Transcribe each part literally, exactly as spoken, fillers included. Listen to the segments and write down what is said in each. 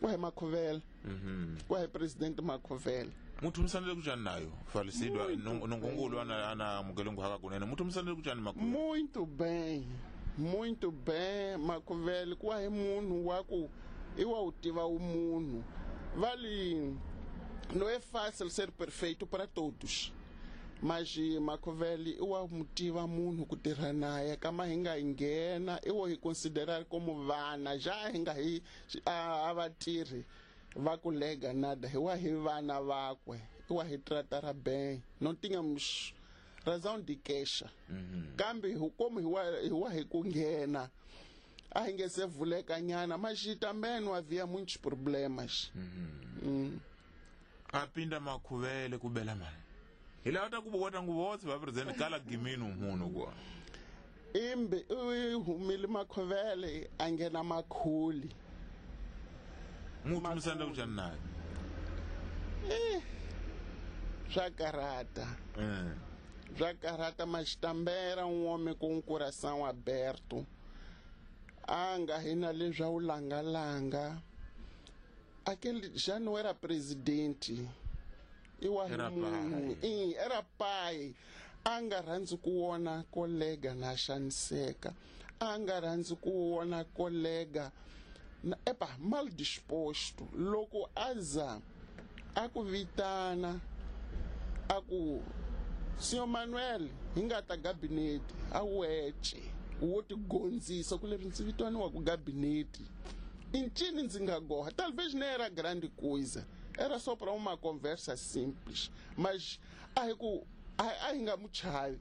Wa hi Makhuvela. Wa hi presidente Makhuvela. Muthu musanele kuchani nayo falecido nongongolo ana ana mukelengo haka kunene muthu musanele kuchani Makhuvela. Muito bem, muito bem Makhuvela kwa hi munhu wa ku i wa u tiva umunhu. Vale, não é fácil ser perfeito para todos. Mas Makhuvela i wa mutiva munhu ku tirha naye kama hi nga nghena i wo hi considerar como vana já hi nga hi a va tirhi va ku lega nada hi wa hi vana vakwe i wa hi tratar bem, não tínhamos razão de queixa. Kambe hi como hi wa hi wa hi ku nghena a hi nge se vuleka nyana, mas também não havia muitos problemas. Mm. A pinda Makhuvele ku bela mani hi lava ta ku vota nguvotse va president kala giminu munhu kwa imbe u humile Makhuvele a nghena Makhuli. Muthu musanda kuchani naye eh swa karata. Eh swa karata, mas também era um homem com um coração aberto. A nga hina leswa u langalanga. Aquele já não era presidente. Eu Era pai. E era pai. A nga rhandzi ku vona kolega na xaniseka. A nga rhandzi ku vona kolega na, epa, mal disposto. Loko aza a ku vitana a ku Senhor Manuel, hi nga ta gabinete a wece wo tigondzisa ku leswi ndzi vitaniwa ku gabinete incini ndzi nga goha. Talvez nem era grande coisa, era só para uma conversa simples, mas a hi ku a hi nga mu chavi,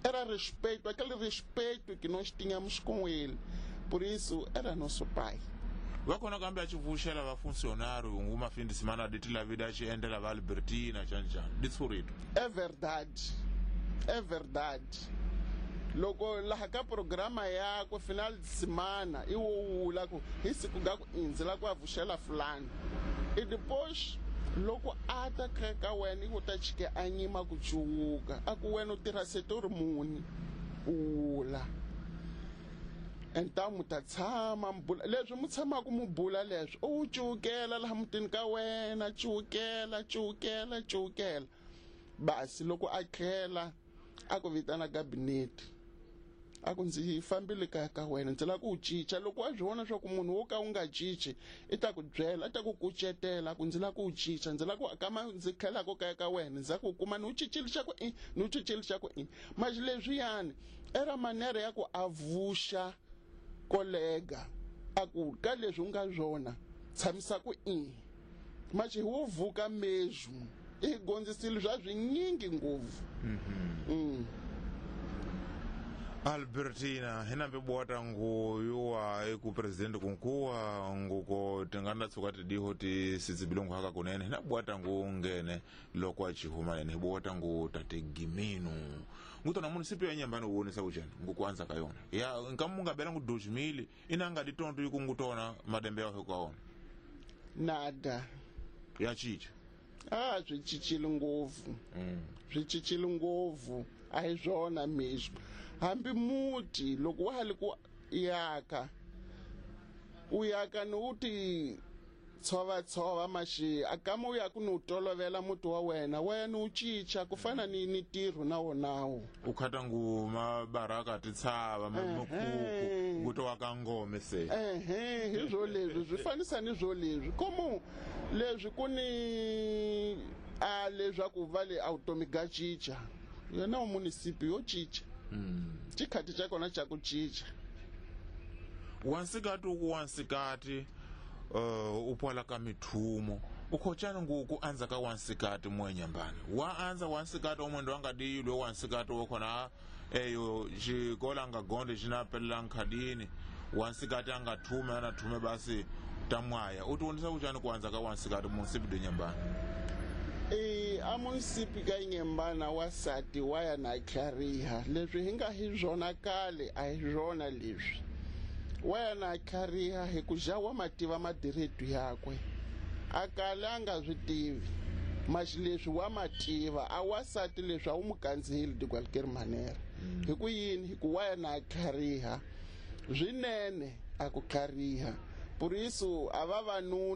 era respeito, aquele respeito que nós tínhamos com ele. Por isso era nosso pai. Va kona kambe a ci vuxela va funcionário nguma fim de semana de tila vida ci endlela va Albertina chani chani ditshurito. É verdade, é verdade. Loko laha ka programa yakwe final de semana i wo wula ku hi siku ga ku indzi la ku a vuxela fulani, e depois loko a ta ka wena i ku ta chike a nyima ku cuwuka a ku wena u tirha setori muni u wula. Então mu ta tshama mi bula leswi mu tshamaka mu bula leswi u cuwukela laha mutini ka wena, cuwukela cuwukela cuwukela. Basi loko a tlhela a ku vitana gabinete a ku ndzi fambile kaya ka wena ndzi lava ku u cinca. Loko wa swi vona swa ku munhu wo ka u nga cinci i ta ku byela, i ta ku kucetela ku ndzi lava ku u cinca, ndzi lava ku kama ndzi tlhelaka kaya ka wena ndzi lava ku kuma ni u cincile xa ku i ni u cincile xa ku i. Mas leswiyani era manera ya ku a vuxa kolega a ku ka leswi u nga swona tshamisa ku i mas hi wo vuka mesmo i gondzisile swa swinyingi ngopfu. Mm. Albertina hina bota nguyuwa eku president kunkuwa nguko tinganda tsuka tidiho ti sitsibilongo haka kunene hina bwata ngu ngene loko a chihuma nene bwata ngu tate giminu ngutona municipio ya Nyambani uonesa kuchani ngukuanza kayona ya nkamunga bela ngu dois mil inanga ditonto yikungutona madembe yaho kwaona nada ya chicha ah swi cincile ngopfu. Mm. Swi cincile ngopfu a hi swona mesmo. Hambi muti loko wa ha li ku yaka u yaka ni u ti tshova tshova maxi a kama u ya ku ni u tolovela muti wa wena wena u cinca ku fana ni ni ntirho na wonawo u khata ngu mabaraka ti tshava makuku ku to wa ka ngome se ehe hi swo leswi swi fanisa ni swo leswi como leswi ku ni a leswaku va le automi ga cinca yena municipio yo cinca. Mm. Xikhathi xa kona xa ku cinca. Wansikati ku wansikati uh, upwala ka mithumo ukhochana nguku anza ka wansikati mwenyambani wa anza wansikati omwendo wanga diyilwe wansikati wokhona eyo xikola nga gonde xinapelela nkhadini wansikati angathume anathume basi tamwaya utionisa kuchani kuanza ka wansikati munsipi de Nyambani. E a munisipi ka Nyambana wasati waya na tlhariha leswi hi nga hi swona kale a hi swona leswi waya na tlhariha hi ku ja wa mativa madiretu yakwe a kale a nga swi tivi mas leswi wa mativa a wasati leswi a wu mu kandziyeli de qualquer manera. Hi ku yini hi ku waya na tlhariha swinene a ku tlhariha por isso a vavanuna